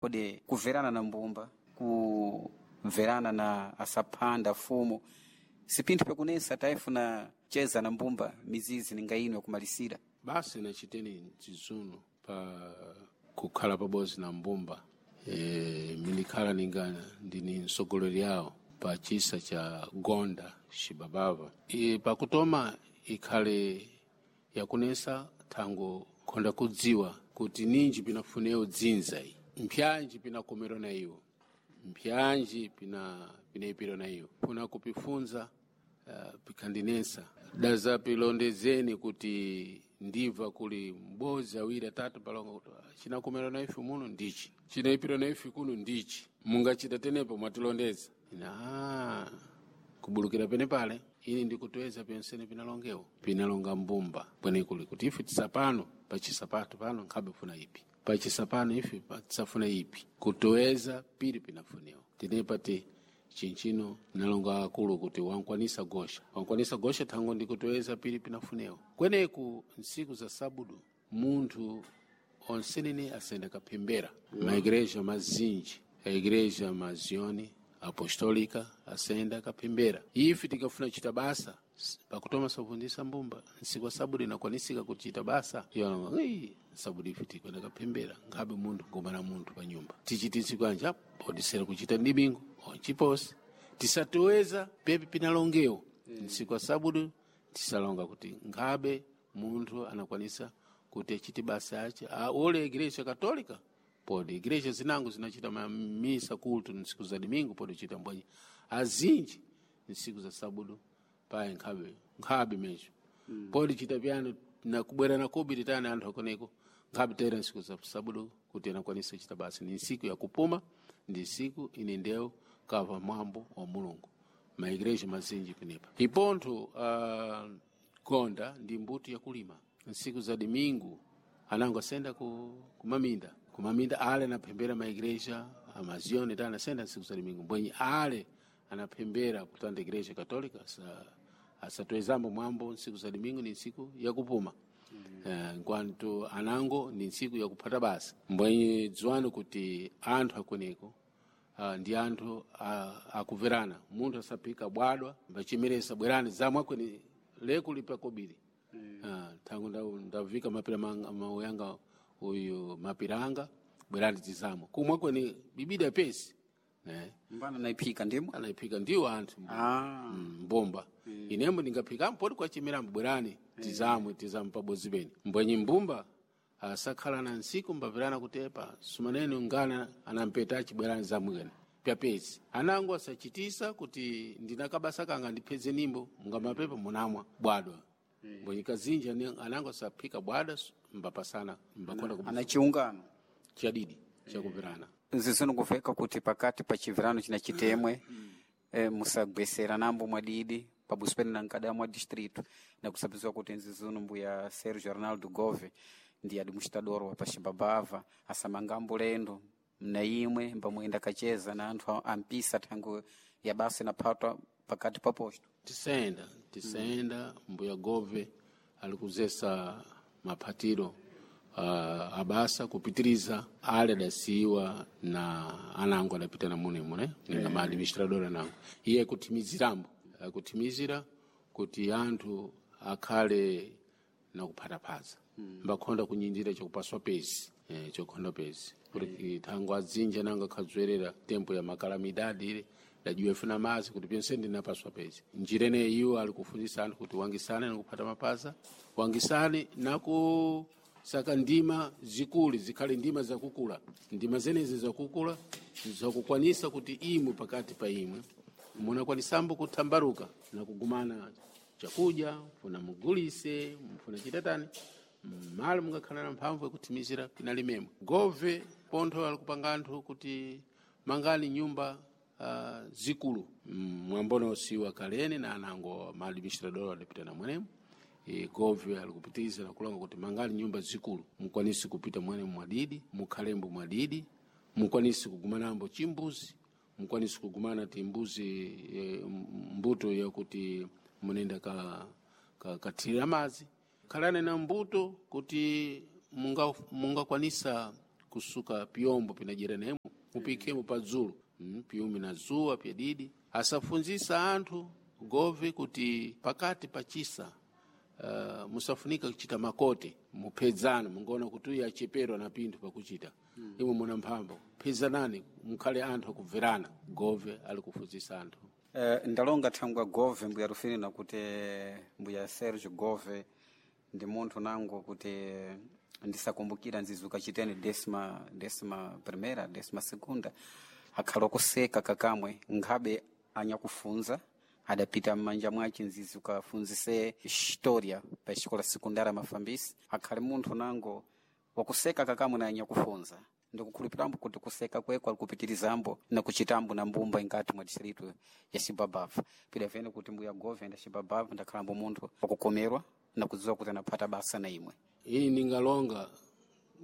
Kodi kuverana na mbumba, kuverana na asaphanda fumu sipinthu pyakunesa tayifuna cheza na mbumba mizizi ninga ino yakumalisira. Basi nachiteni zizuno pa kukhala pabodzi na mbumba minikhala ninga ndini mtsogoleri yawo pa chisa cha Gonda Xibabava. Pakutoma ikhale yakunesa thango khonda kudziwa kuti ninji pinafunewo dzinza iyi, mpyanji pinakomerwa na iwo, mpyanji pinayipirwa na iwo, funa kupifunza pikhandinesa daza pilondezeni kuti ndibva kuli m'bodzi awiri atatu palonga kuti chinakomerwa na ife muno ndichi, chinayipirwa na ife kuno ndichi, mungachita tenepo mwatilondeza. Ina kubulukira pene pale ini ndikutoweza pyonsene pinalongewo pinalonga mbumba pwenekuli kuti ife tisapano pachisapato pano nkhabe funa ipi pachisapano ife tisafuna ipi kutoweza pili pinafunewa tinepa ti chinchino nalonga akulu kuti wankwanisa gosha wankwanisa gosha thango ndikutoweza pili pinafunewa kweneku nsiku za sabudu munthu onsenene asenda kaphembera maigreja mazinji a igreja mazioni apostolica asenda kaphembera ife tikafuna chita basa pakutoma sabundisa mbumba nsiku wa sabudu inakwanisika kuchita basa iwo sabudu ife tikwenda kaphembera nkhabe munthu ngomana munthu pa nyumba tichiti nsiku anja podisera kuchita ndimingo onchiposi tisatoweza pepi pinalongewo nsiku wa sabudu tisalonga kuti nkhabe munthu anakwanisa kuti achite basa ache ole igreja katolika podi igreja zinango zinachita mamisa kulto nsiku za domingo podi chita mbwanyi azinji nsiku za sabudu paye nkhabe nkhabe mecho podi chita pyano nakubwera na kobiri tani anthu akoneko nkhabe tera nsiku za sabudu kuti anakwanisa chita basa ni nsiku yakupuma ndi nsiku ine ndewu kava mwambo wa Mulungu maigreja mazinji penepa ipontho gonda ndi mbuto yakulima nsiku za domingo anango asenda kumaminda kumaminda ale anaphembera maigreja amazioni ta anasenda nsiku za domingo mbwenyi ale anaphembera kutanda igreja katolika asatwezambo mwambo nsiku za domingo ni nsiku yakupuma nkwanto anango ni nsiku yakuphata basa mbwenyi dziwani kuti anthu akweneko ndi anthu akuverana munthu asaphika bwadwa mbachimeresa bwerani zamwe akweni leku lipa kobiri thango ndavika mapira mauyanga uyu mapiranga bwerani tizamwe kumwe kweni bibida pesi ne Mbana naiphika ndimo anaiphika ndiwo anthu mbomba inembo ndingaphika mpoti kwachimerambo bwerani tizamwe tizamwe pabodzi pene mbwenyi mbumba asakhala na nsiku mbapirana kuti epa sumanene ngana anampeta achibwerani zamwe kene pyapezi anango asachitisa kuti ndinakabasa kanga ndipheze nimbo mungamapepa munamwa bwadwa mbwenyi kazinji anango asaphika bwadwa mbapasana mbakonda ana chiungano chadidi chakupirana nzizino kuveka kuti pakati pa chivirano china chitemwe musagwesera nambo mwadidi pabuso pene na nkada mwa distrito nakusabiziwa kuti nzizino mbuya Sergio Arnaldo Gove ndi administrador wa Pachibabava asamangambo lendo mna imwe mbamuyenda kacheza na anthu ampisa thango ya basa inaphatwa pakati pa posto tisenda mbuya Gove alikuzesa maphatiro abasa kupitiriza ale adasiyiwa na anango adapita na munemo ne ninga ma administrador anango iye kuthimizirambo akuthimizira kuti anthu akhale nakuphataphaza mbakhonda kunyindira chakupaswa pezi chokhonda pezi kuti thango adzinja nanga akhadzwerera tempo ya makalamidadi ile dajiwa ifuna mazi kuti pyonse ndinapaswa pezi njira ineyi iwo ali kufundisa anthu kuti wangisane nakuphata mapaza wangisane naku saka ndima zikuli zikhale ndima zakukula ndima zenezi zakukula zakukwanisa kuti imwe pakati pa imwe munakwanisambo kuthambaruka nakugumana chakudya mfuna mugulise mfuna chitatani mmalo mungakhala na mphamvu yakuthimizira pinalimemwe gove pontho alikupanga anthu kuti mangani nyumba zikulu mwambono siwa kalene na anango ma administrador adapita na mwenemo gove alikupitiza nakulonga kuti mangani nyumba zikulu mukwanise kupita mwene mwadidi mukhalembo mwadidi mukwanise kugumanambo chimbuzi mukwanise kugumana ti mbuzi mbuto yakuti munenda kathirira madzi khalani na mbuto kuti mungakwanisa kusuka pyombo pinajera nemo mupikemo padzulu piumi na zuwa pyadidi asafunzisa anthu gove kuti pakati pachisa musafunika kuchita makote muphedzana mungaona kuti uyu acheperwa na pinthu pakuchita imwe muna mphamvu phedzanani mukhale anthu akubverana gove ali kufunzisa anthu. Ndalonga thangwa gove mbuya Rufino kuti mbuya Sergio Gove ndi munthu nango kuti ndisakumbukira nzizuka chitene décima primeira décima segunda akhala okuseka kakamwe nkhabe anyakufunza adapita m'manja mwace nzizi ukafunzise história pa xikola sekundara mafambisi akhale munthu nango wakuseka kakamwe na anyakufunza ndikukhulupirambo kuti kuseka kweko alikupitirizambo na kuchitambo na mbumba ingati mwa distrito ya Xibabava pidavene kuti mbuya Gove nda Xibabava ndakhalambo munthu wakukomerwa na kudziwa kuti anaphata basa na imwe. Ini ningalonga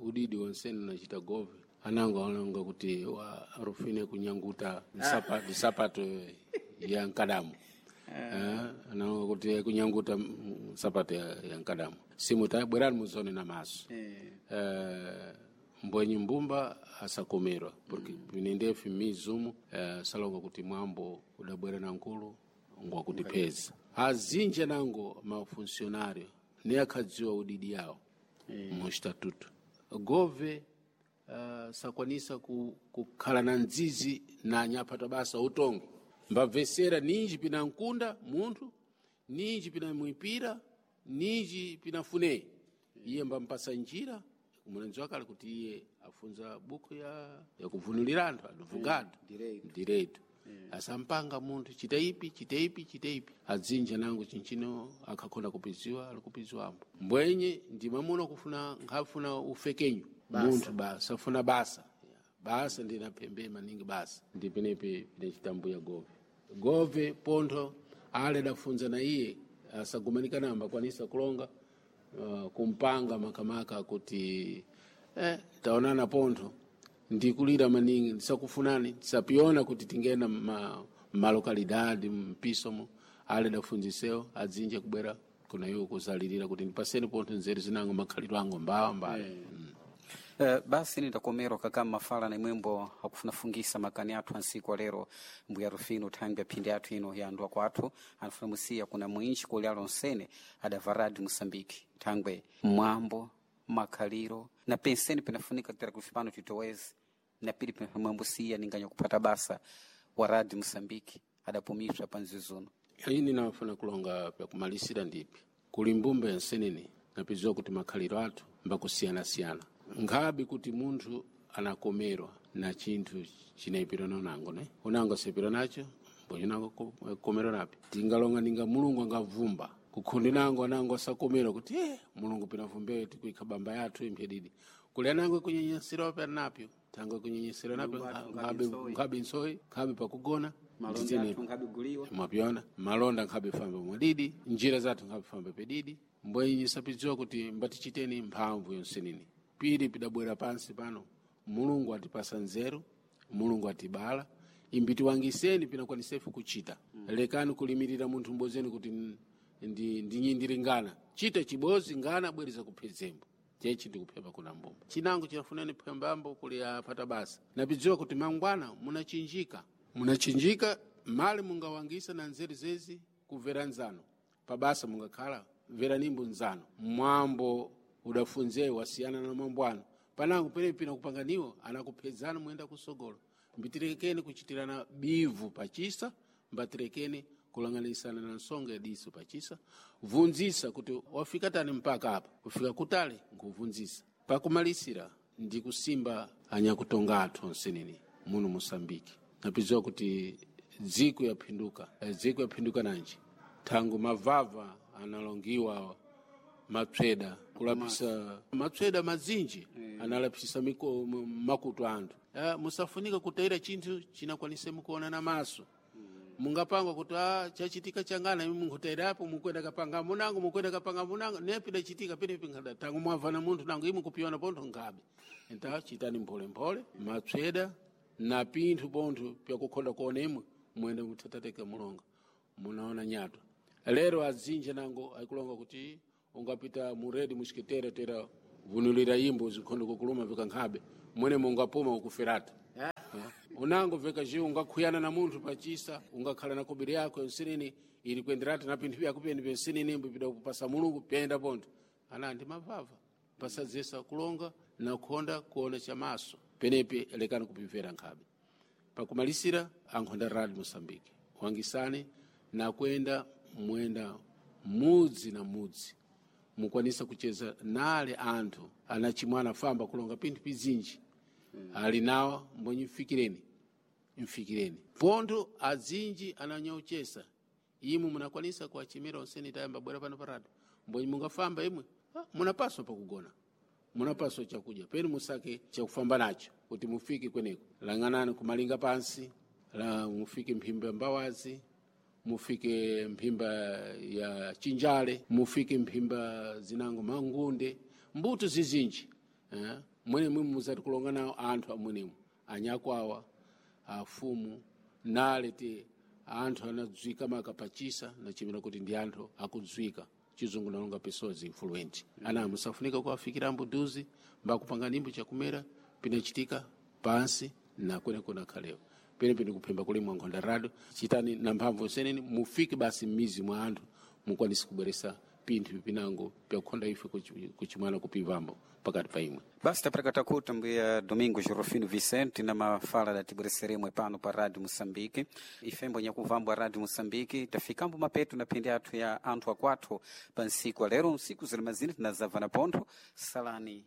udidi wonsene nachita gove anango alonga kuti wa Rufine kunyanguta nsapato ya nkadamu. Analonga kuti kunyanguta nsapato ya nkadamu simu ta bwerani muzone na maso. Mbwenyi mbumba asakomerwa porque pinendefi mizumu salonga kuti mwambo udabwera na nkulu ngwakutipeza azinja nango mafunsionario ne akhadziwa udidi yawo mu estatuto gove sakwanisa kukhala na ndzizi na anyaphata basa utongo mbabvesera ninji pina nkunda munthu ninji pina mwipira ninji pina funeyi iye mbampasa njira mulenzi wake ali kuti iye afunza buku ya yakuvunulira anthu advogado direito asampanga munthu chita ipi chita ipi chita ipi adzinja nango chinchino akhakhona kupiziwa ali kupiziwambo mbwenye ndi mwamuna kufuna nkhafuna ufekenyu munthu basa afuna basa basa ndinaphembe maningi basa ndi penepe pinachitambuya gove gove pontho ale adafunza na iye asagumanikana ambakwanisa kulonga kumpanga makamaka kuti taonana pontho ndikulira maningi ndisakufunani ndisapiona kuti tingena malokalidade mpisomo ale dafunzisewo adzinje kubwera kuna iwo kuzalirira kuti ndipaseni pontho nzeru zinango makhalidwe ango mbawa mbala. Basi nindakomerwa kakama mafala na imwembo akufunafungisa makani athu ansiku alero mbuya Rufino thangwi aphindi athu ino yandwa kwathu anafuna musiya kuna mwinji kuli alonsene adava radio Moçambique thangwe mwambo makhaliro na penseni pinafunika kutera kufi pano titoweze na pili pinamwembo siya ninganya kupata basa wa radio Moçambique adapumiswa panzizuno. Ini nafuna kulonga pyakumalisira ndipi kuli mbumba yansenene napiziwa kuti makhaliro athu mbakusiyanasiyana nkhabe kuti munthu anakomerwa na chinthu chinayipira nango ne unango asayipira nacho mbonye komerwa napi tingalonga ninga mulungu angavumba kukhundi nango anango asakomerwa kuti mulungu pinavumbeyo tikuikha bamba yathu imphyedidi kuli anango ikunyenyesera pa napyo tango ikunyenyesera napyo nkhabe nsoyi nkhabe pakugona mwapyona malonda nkhabe famba mwadidi njira zathu nkhabe famba pedidi mbwenye sapidziwa kuti mbatichiteni mphamvu yonsenini pili pidabwera pansi pano mulungu atipasa nzeru mulungu atibala imbitiwangiseni pinakwanisefu kuchita. Lekani kulimirira munthu mbozeni kuti ndinyindiringana chita chibozi ngana bwereza kuphezembo chechi ndikuphemba kuna mbumba chinango chinafunani phembambo kuli apata basa napidziwa kuti mangwana munachinjika mali mungawangisa na nzeru zezi kumvera nzano pabasa mungakhala mveranimbo nzano mwambo udafunzeyo wasiyana na mwambo anu panango penepi kupanganiwo anakuphedzana muyenda kusogolo mbitirekeni kuchitirana bivu pachisa mbatirekeni kulanganisana na nsonga yadiso pachisa vunzisa kuti wafika tani mpaka apa kufika kutale nkuvunzisa pakumalisira ndi kusimba anyakutonga athu onsenene muno Mosambiki napidziwa kuti dziko yaphinduka dziko yaphinduka nanji thangu mavava analongiwa matsweda kulapisa matsweda mazinji analapisa makutu anthu musafunika kutayira chinthu chinakwanise mukuona na maso. Mungapangwa kuti chachitika changana imi munkutayirapo mukwenda kapanga munango mukwenda kapanga munango nepi dachitika penepi nkhada tangu mwavana munthu nango imi kupiona pontho nkhabe enta chitani mpholemphole matsweda na pinthu pontho pyakukhonda kuona imwe mwende muthatateka mulonga munaona nyatwa lero azinja nango akulonga kuti ungapita muredi mushiketere tera vunulira imbo zikhondo kukuluma vikankhabe Mwene mungapuma ukuferatu. Unango veka jiu ungakhuyana na munthu pachisa, ungakhala na kobiri yako nsinini ili kuenderatu na pinthu vyako pyene pyensinini mbipida kupasa Mulungu pyenda pontho. Ana ndi mavava pasadzesa kulonga na kukhonda kuona chamaso penepe lekani kupimvera nkhabe. Pakumalisira ankhonda Radio Mosambiki wangisane na kwenda mwenda mudzi na mudzi, mukwanisa kucheza nale anthu anachimwana famba kulonga pinthu pizinji ali nawo mbonyi, mfikireni mfikireni pontho azinji ananyauchesa imwe munakwanisa kuachimira onseni tayamba bwera pano parado mbonyi mungafamba imwe, munapaswa pakugona, munapaswa chakudya penu musake chakufamba nacho kuti mufike kweneko. Lang'anani kumalinga pansi la mufike mphimba mbawazi, mufike mphimba ya chinjale, mufike mphimba zinango mangunde, mbuto zizinji, eh? Mwene mwe muzati kulonga nawo anthu amwenemo anyakwawa afumu nale te anthu anadzwika makapachisa nachimira kuti ndi anthu akudzwika chizungu nalonga pessoas influente. Ana musafunika kuwafikira mbuduzi mbakupanga nimbo chakumera pinachitika pansi na kweneko khalewa pene pene kuphemba kulimwa nkhonda rado chitani na mphamvu seneni mufike basi m'mizi mwa anthu mukwanise kubweresa pinthu pinango pyakukhonda ife kuchimwana kupivambo pakati pa imwe. Basi taperekata kuti mbuya Domingos Rufino Vicente na mafala datibwereseremwe pano pa Radio Moçambique. Ifembo nyakuvambwa Radio Moçambique tafikambo mapeto na phindi athu ya anthu akwathu pa nsiku alero nsiku zilimazini tinazava na pontho salani.